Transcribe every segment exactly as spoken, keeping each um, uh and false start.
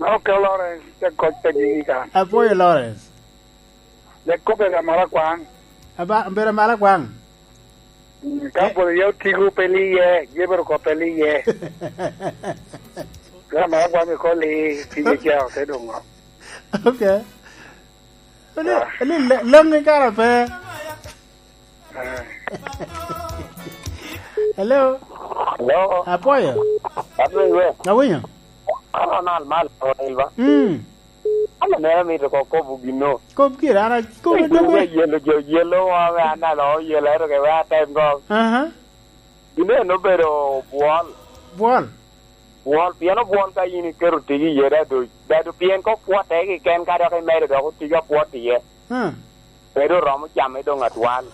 Ok, Lawrence, te kony pe gigi kan. Apwoyo, Lawrence. Dek kobbe ka mala kwaŋ. Aba, bedo mala kwaŋ. Mm, ka Eh. Pwod iye otigo pe li iye, jebero ko pe li iye. Ka mala kwaŋ i koli, pige ca ote doŋo. Ok. Ni, Ah. Ni le-, leŋ i kara pe. Eh. Hello? Hello? Apwoyo? Apwoyo. Awinyo? An Ronald Mal Ronald ba? Mm. An aneno mito ko kobo gino. Kop gire, an a-, kobo Ey, doge. Yelo jo, yelo wa, we an alo yelo, ero ke we atem go. Aha. Gino en obedo bwol. Bwol? Bwol, pien obwol ka in iketo tigi iye, dadu, dadu, pien ka opwotte keken, ka dok imedo dok otigi apwot iye. Hmm. Bedo oromo camme doŋ atwal.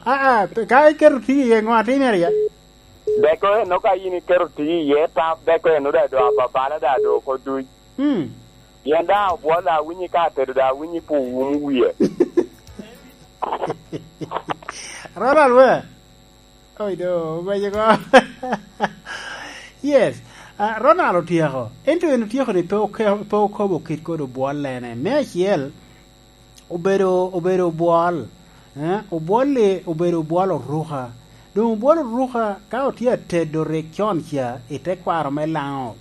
Aa, pe-, ka iketo tigi iye, ŋo atimere iye? Deko eno ka in iketo tigi iye, ta deko eno da do ababala da do oko duc. Hmm. Pien da obwol da awinyi ka atedo da awinyi pu wum wie. Ronald we? Oi, do, obeco ko. Yes. Ah, Ronald otyeko. Ento en otyeko ni pe oke-, pe okobo kit kod obwollene. Me acel, obedo, obedo obwol. Eh, obwol-li obedo obwol oruka. Doŋ obwol oruka, ka otye atedo rik con ca i tekwaro me Laŋo,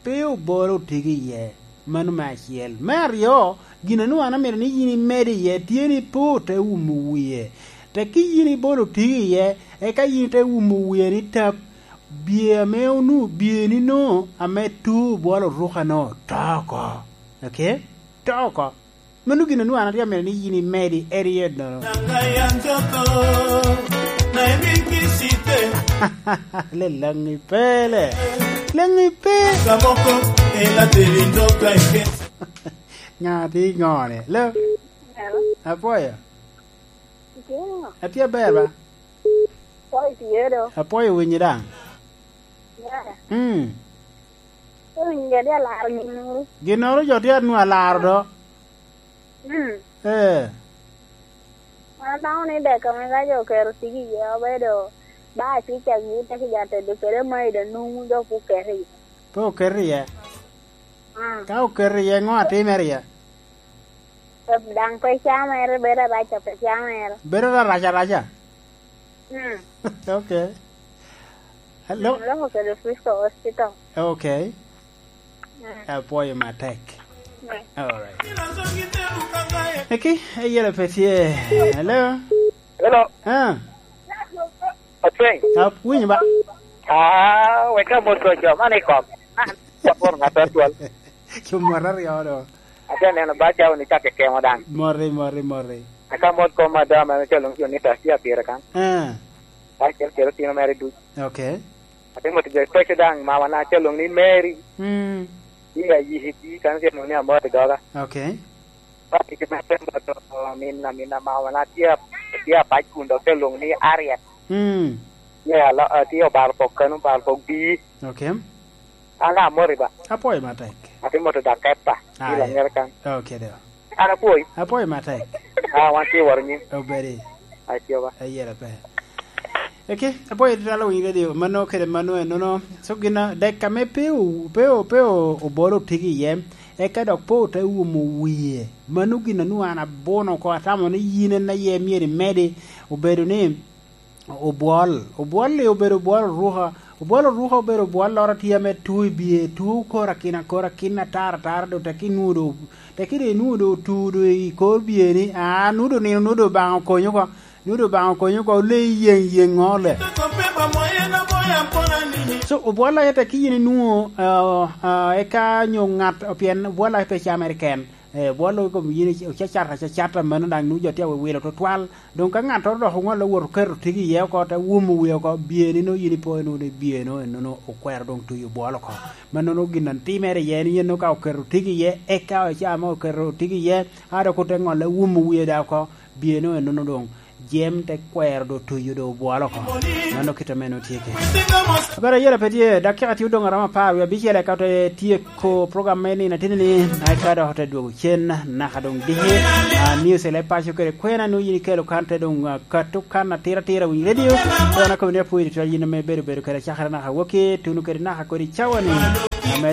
pe obolo otigi iye. Mano me acel. Me aryo, gin a nwoŋo an amito ni yin imed iye tye ni pe ote umo wie. Tekki yin ibolo otigi iye, eka yin ite umo wie ni tap, bye ame onu-, bye ni no ame tu obwolo oruka no, to oko. Ok? To oko. Mano gin a nwoŋo an atye amito ni yin imedi, eri ennono. Lelaŋi pe, le. Leŋi pe. Ŋa tye i ŋone? Lo? Hello? Apwoyo. Itye ŋo? Atye aber ba? Apwoyo tye do. Apwoyo winyi daŋ. Yeah. Mm. Owinjo ni alaro ginnoro. Ginnoro jo tye anwoŋo alaro do. Mm. Eh. An aneno ni dek ame ka jo oketo tigi iye obedo ba acicagi te ki ja tedo kede maida nwoŋo dok oketo iye. Pe oketo iye. Mm. Ka oketo iye, ŋo atimere iye? Daŋ pe camere, bedo araca pe camere. Bedo arac araca? Mm. Ok. Hello? Mm, loko kede Frisco Hospital. Ok. Mm. Apwoyo matek. Mm. All right. Eki, eyela pe tye. Hello? Hello. Ah. Atweng. Awinyo ba? Ah, wek amot ko jo man i kom. Ah, apworo ŋat atwal. Cumot aryo do. Atye neno ba cawa ni cak kekemo daŋ. Moti, moti, moti. Aka mot kom ada ma calo jo ni taxi apire kan. Ah. Ba cel cel tino mere duc. Ok. Atye mot jo special daŋ, mama na calo ni Mary. Mm. Ni ayiki di kan calo ni amot i doga. Ok. Ba tye kede atem bot, oh, amin, amin, ama wan atye, atye apac kun dok te lwoŋo ni Ariel. Mm. Tye alo-, ah, tye obalo pok kano, obalo pok bii. Ok. An amoti ba. Apwoyo matek. Atye moto dak kepa. Ah, i Langere kan. Ok, do. An apwoyi. Apwoyo matek. Ah, wan tye woro nyim. Obedi. Atye ba. Ayela pe. Eke, apwoyo tutwal owiny radio, mano kede mano enono. So gin a dek ame pe o-, pe o-, pe o-, obolo otigi iye, eka dok pe ote umo wie. Mano gin a nwoŋo an abuno oko, atamo ni yin en aye myero imedi, obedo ni obwol. Obwol-li obedo obwol oruka. Obwol oruka obedo obwol loro tye ame tuo i bye, tuo koro akina, koro akina, atara, atara, do teki nwoŋo do, teki do inwoŋo do otu do i kor bye ni, aa, nwoŋo do nino, nwoŋo do Obaŋa okonyo oko. Nwoŋo Obaŋa okonyo oko, ole yeŋ yeŋ ŋo le. So, obwol aye tek ki yin inwoŋo, ah, ah, eka nyo ŋat, pien obwol aye pe camere ken. Eh, obwol i kom yin ocacata, cacata mano daŋ nwoŋo jo tye awewilo tutwal. Doŋ ka ŋattoro dok oŋolle owot oketo tigi iye oko, te wumo wie oko, bye ni nwoŋo yin ipo nwoŋo ni bye nwoŋo enono okwero doŋ tuyo obwol oko. Mannono gin a timere iye ni yen nwoŋo ka oketo tigi iye, eka oca mo oketo tigi iye, a dok ote ŋolle wumo wie daŋ oko, bye nwoŋo enono doŋ. Jam te kwero do tuyo do obwolo oko. Mano kit ame nwoŋo tye kede. Abara yela pe tye, dakika tye odoŋ aromo apar wie abicel eka ote tyeko program me nino ateni ni, eka dok ote dwogo cen naka doŋ diki. Ah, news ele paco kede kwena nwoŋo yin ikelo kan te doŋ, ah, kato kan atira atira winy radio. Kona komiti apwoyo tutwal yin ame bedo bedo kede cakere naka waki, tuno kede naka kodi cawa ni. Ame